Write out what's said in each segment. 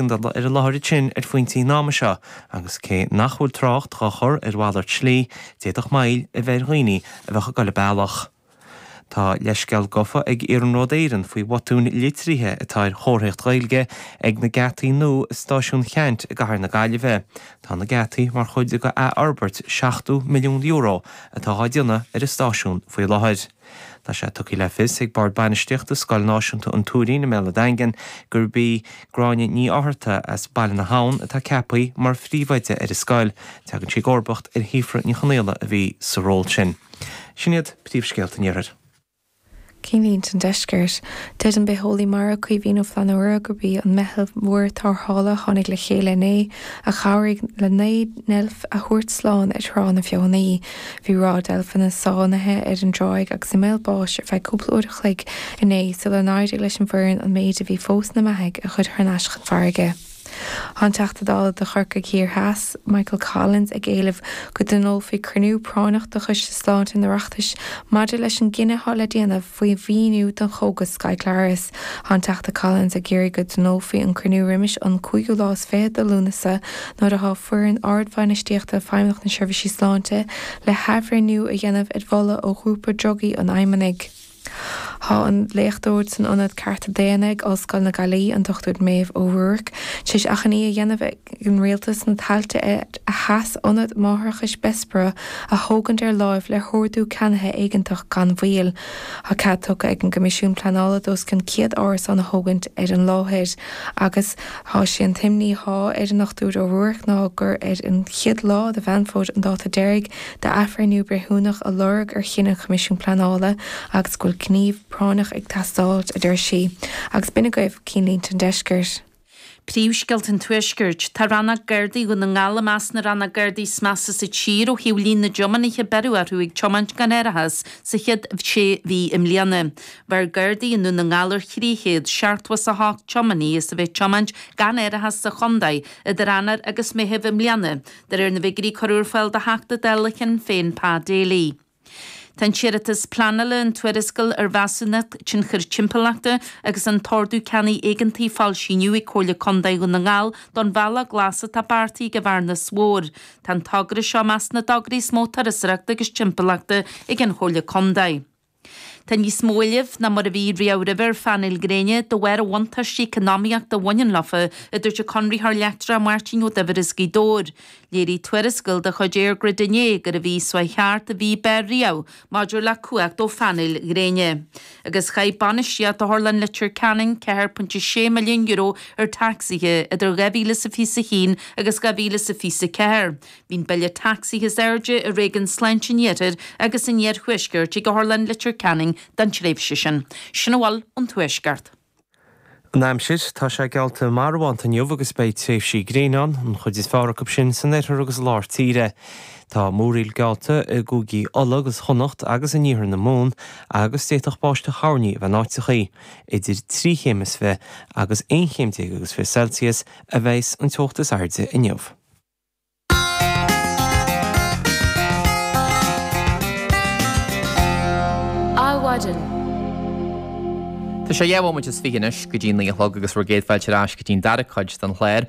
éigeandála ar an láthair ansin ar phointí an ama seo agus cé nach bhfuil trácht dhá chur ar mhalairt slí, d'fhéadfadh moill a bheith ar dhaoine a bheadh ag dul an bealach. Tá leithscéal gafa ag Iarnród Éireann faoi bhotúin litrithe atá ar chomharthaíocht Ghaeilge ag na geataí nua i Stáisiún Cheannt i gcathair na Gaillimhe. Tá na geataí mar chuid de athfhorbairt €70 milliún atá á déanamh ar an stáisiún faoi láthair. Tá sé tugtha le fios ag Bord Bainistíochta Scoil Náisiúnta an Tuairín i mBéal an Daingin gurb í Gráinne Ní Fhátharta as Baile na hAbhann atá ceaptha mar phríomhoide ar an scoil. Tagann sí i gcomharbacht ar Shíofra Ní Chonaola a bhí sa ról sin. Sin iad príomhscéalta an Iarthair. Cinnlínte an Deiscirt. Deir an bitheolaí mara Caoimhín Ó Flannúra gurb í an meitheal mhór tarrthála a tháinig le chéile inné a chabhraigh le 9 ndeilf a thabhairt slán ar Thrá na Feothanaí. Bhí ráth deilfeanna sáinnithe ar an dtráigh agus i mbaol báis ar feadh cúpla uair a chloig inné sula n-éirigh leis an bhfoireann an méid a bhí fós ina mbeathaigh a chur thar n-ais chun farraige. Tá an Teachta Dála do Chorcaigh Thiar Theas, Michael Collins, ag éileamh go dtionólfaí cruinniú práinneach de Choiste Sláinte an Oireachtais maidir leis an gcinneadh atá le déanamh faoi mhaoiniú don chógas Skyclarys. Tá an Teachta Collins ag iarraidh go dtionólfaí an cruinniú roimis an cúigiú lá is fichead de Lúnasa nuair atá foireann ardbhainistíochta Feidhmeannacht na Seirbhísí Sláinte le hathbhreithniú a dhéanamh ar mholadh ó Ghrúpa Drugaí an Fheidhmeannaigh. Tá an léachtóir san Ionad Cearta Daonna ag Ollscoil na Gaillimhe, an Dr Méabh O'Rourke, tar éis achainí a dhéanamh ar an Rialtas na tailte ar a sheas Ionad Máithreachais Bessborough a thógaint ar láimh le hordú ceannaithe éigeantach gan mhoill. Tá cead tugtha ag an gCoimisiún Pleanála d'os cionn 100 árasán a thógaint ar an láthair agus tá sé an t-imní atá ar an Dr O'Rourke ná gur ar an chéad lá de Mheán Fómhair an dáta deiridh d'athbhreithniú breithiúnach a lorg ar chinneadh an Choimisiúin Pleanála agus go bhfuil gníomh práinneach ag teastáilt, a deir sí. Agus b'in agaibh Cinnlínte an Deiscirt. Príomhscéalta an Tuaiscirt. Tá Rannóg Gardaí Dhún na nGall i measc na rannóg Gardaí is measa sa tír ó thaobh líon na dtiománaithe a beireadh orthu ag tiomáint gan árachas sa chéad sé mhí i mbliana. Bheir Gardaí i nDún na nGall ar 378 tiománaí as a bheith ag tiomáint gan árachas sa chontae idir Eanáir agus Meitheamh i mbliana. De réir na bhfigiúirí a cuireadh ar fáil do Theachta Dála Shinn Féin Pa Daly. Tá an t-iarratas pleanála, an tuarascáil ar mheasúnacht tionchair timpeallachta agus an t-ordú ceannaigh éigeantaigh foilsithe inniu ag Comhairle Contae Dhún na nGall don bhealach glas atá beartaithe ag an Bhearnas Mhór. Tá an togra seo i measc na dtograí is mó turasóireachta agus timpeallachta ag an Chomhairle Contae. Tá níos mó éilimh ná mar a bhí riamh roimhe ar phainéil ghréine de bharr an bhuntáiste eacnamaíochta a bhaineann leofa, a dúirt an conraitheoir leictreach Máirtín Ó Duibhir as Gaoth Dobhair. Léirigh tuarascáil de chuid EirGrid inné gurbh í seo thart an mhí b'fhearr riamh maidir le cumhacht ó phainéil ghréine. Agus chaith bainistíocht Otharlann Leitir Ceanainn €4.6 milliún ar tacsaithe idir 2021 agus 2024. Bhí an bille tacsaithe is airde i réigiún sláinte an Iarthair agus an Iarthuaiscirt ag Otharlann Leitir Ceanainn don tréimhse sin. Sin a bhfuil ón Tuaisceart. An aimsir, Tá sé geallta marbhánta inniu agus beidh tréimhsí gréine ann, an chuid is fearr acu sin san oirthear agus i lár tíre. Tá múraíl geallta i gcúigí Uladh agus Chonnacht agus in iarthar na Mumhan agus d'fhéadfadh báisteach thoirní a bheith in áiteachaí. Idir trí chéim is fiche agus aon chéim déag agus 20 Celsius a bheas an teocht is airde inniu. Adhmhaidin. Tá sé 2 bhomaite is 20 anois go dtí 9 a chlog agus bhur gcéad fáilte ar ais go dtí an dara cuid den chlár.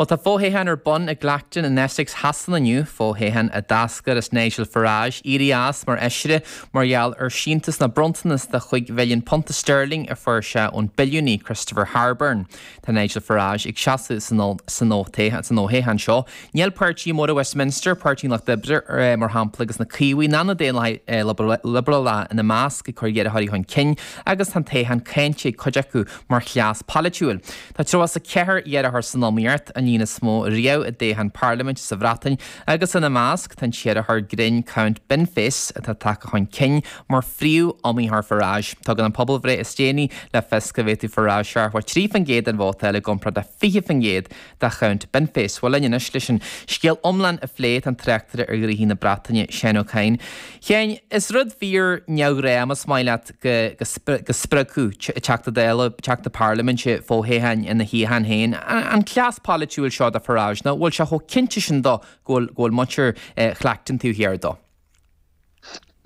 Bhuel tá fo-thoghchán ar bun i gClacton in Essex Shasana inniu, fo-thoghchán a d'eascair as Nigel Farage éirí as mar fheisire mar gheall ar síntiús nó bronntanas de chúig mhilliún punta sterling a fuair sé ón billiúnaí Christopher Harborne. Tá Nigel Farage ag seasamh san fhothoghchán seo. Níl páirtithe móra Westminster, Páirtí an Lucht Oibre mar shampla agus na Caomhaigh ná na Daonlathaigh Liobrálach ina measc ag cur iarrthóirí chun cinn agus tá an toghchán cáinte ag cuid acu mar chleas polaitiúil. Tá 34 iarrthóir san iomaíocht, an líon is mó riamh i dtoghchán parlaiminte sa Bhreatain agus ina measc tá an t-iarrthóir grinn Count Binface atá tagtha chun cinn mar phríomh-iomaítheoir Farage. Tugann an pobalbhreith is déanaí le fios go bhféadfadh Farage 73% den vóta a fháil i gcomparáid le 20% do Chount Binface. Bhuel linn anois leis an scéal iomlán a phlé tá an tráchtaire ar ghnoithí na Breataine, Seán Ó Cadhain. Sheáin, is rud fíor neamhghnách más maith leat go go spreagfadh Teachta Dála, Teachta Parlaiminte fo-thoghchán ina shuíochán féin. An cleas polaitiúil seo do Farage nó bhfuil sé chomh cinnte sin dó go bhfuil muintir Chlacton taobh thiar dó?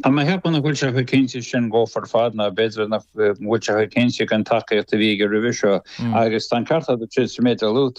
Tá mé ag ceapadh nach bhfuil sé chomh cinnte sin dhófa ar fad, ná b'fhéidir nach bhfuil sé chomh cinnte den tacaíocht a bhí aige roimhe seo. Agus tá an ceart agat sa méid a luaigh tú.